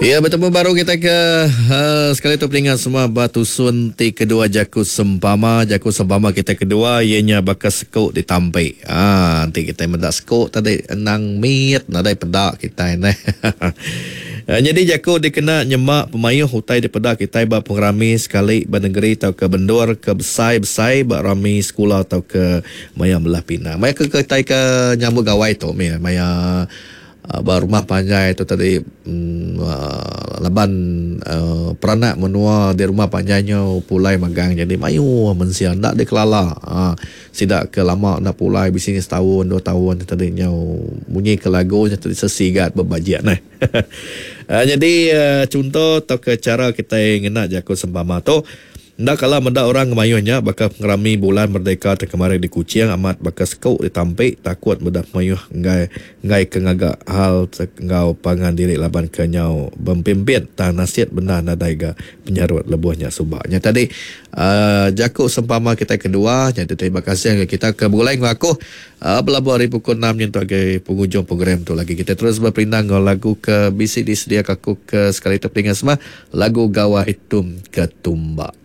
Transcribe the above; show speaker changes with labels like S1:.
S1: Ya betemu baru kita ke uh, sekali tu peningat semua ba tusun ti kedua jaku sempama jaku sempama kita kedua iya nya baka seku ditampi. Ah enti kita meda seku tadi endang mit nadai peda kitai neh. Eh, nyadi jaku dikena nyema pemayuh utai dipeda kitai ba pengerami sekali ba negeri tauka bendur ke besai-besai ba rami sekula tauka maya belah pinang. Maya ke kitai ke nyambut gawai tu mih maya Ba rumah panjai tu tadi laban peranak menua di rumah panjai nyau pulai magang jadi mayuh mensia enda dikelala aaa sida ke lama enda pulai bisi setaun dua taun tadi nyau munyi ke lagu nya tadi sesigat bebajik neh. Nyadi chunto tauka chara kitai ngena jaku sempama tu. Enda kala meda orang ngemayuh nya baka pengerami bulan merdeka ti kemari di Kuching amat baka seku ditampi takut meda pemayuh enggai enggai ke ngaga hal enggau pangan diri laban ke nyau bempimpit tang nasit bendar nadai ga penyarut lebuh nya suba. Nya tadi uhh jaku sempama kitai kedua nya terima kasih ngagai kita ke begulai enggau aku Belabuh ari pukul enam nyentuk agai pengujung program tu lagi. Kita terus beperindang enggau lagu ke bisi disediaka aku ke sekali tu peninga semua, lagu Gawai Tum Ketumba.